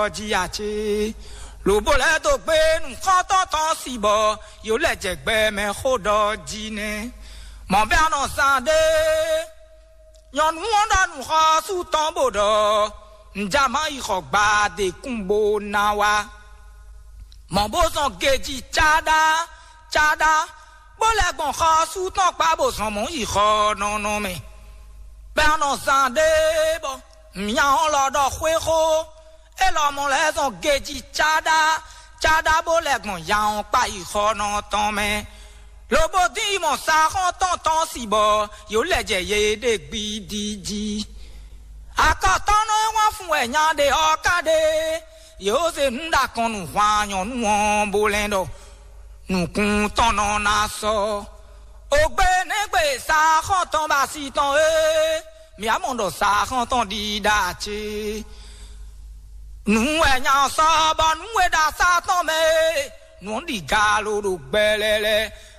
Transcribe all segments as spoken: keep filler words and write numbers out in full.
ɔ́ jí ǎ cé? Lǒbó lɛ́ɛ dó gbé nǔxɔ́ntɔn tɔn si bɔ yǒ lɛ jɛ gbɛ mɛ xó ɖɔ jí nɛ́. Mɔ̌ bɛ́ a nɔ zán ɖé, nyɔ̌nu ɔ́ ɖɔ nǔxɔ́sú tɔn bó ɖɔ: "Nja má yi xɔ gbadekún bó ná wá." Mɔ̌ bó zɔn gejí cáɖá cáɖá, bó lɛ́ gbɔn xɔ́sú tɔn kpá bó zɔn mɔ̌ yi xɔ nɔnɔ mɛ. Bɛ́ a nɔ zán ɖé bɔ mǐa ɔ́ lɔ ɖɔ xwéxó, é lɔmɔ̌ lɛ́ zɔn gejí cáɖá cáɖá bó lɛ́ gbɔn ya ɔ́ kpá yi xɔ nɔ tɔn mɛ. Lobo dín yi mɔ saxɔ́ntɔn tɔn si bɔ yǒ lɛ jɛ yě ɖe gbidi jí. Akɔtɔ́nɔ e wán fun wɛ nya ɖe ɔ́ ka ɖe, yǒ se nǔ ɖo akɔn nú hwan nyɔ̌nu ɔ́ bó lɛ́n ɖɔ: "Nǔkún tɔn nɔ ná sɔ́." Ogbe nɛgbɛ saxɔ́ntɔn ba si tɔn e, mǐ á mɔ ɖɔ saxɔ́ntɔn ɖi ɖa ce. Nǔ wɛ nya ɔ́ sɔ́ bɔ nǔ e ɖo asá tɔn mɛ e, nǔ ɔ́ ɖi galo ɖo gbɛlɛlɛ.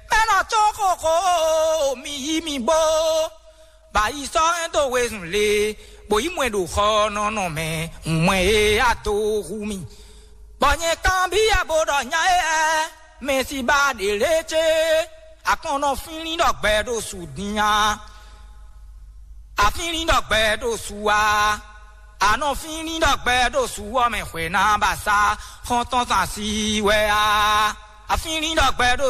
Mɛ nɔ có xóxó, mi yí mi bó. Bɔ ayi sɔ́ hɛn dó wezun lě, bó yí mɔ̌ ɖo xɔ nɔnɔ mɛ, mɔ̌ e a dó hu mì. Bɔ nyɛ kanbyɔ́ bó ɖɔ nya éyɛ́, mɛ si ba ɖě lě cé, akɔn nɔ fínlín ɖɔ gbɛ ɖo su din a? Afínlín ɖɔ gbɛ ɖo su a? A nɔ fínlín ɖɔ gbɛ ɖo su ɔ́ mɛ hwɛ̌ ná ba sa xɔ́ntɔn tɔn asi wɛ a? Afínlín ɖɔ gbɛ ɖo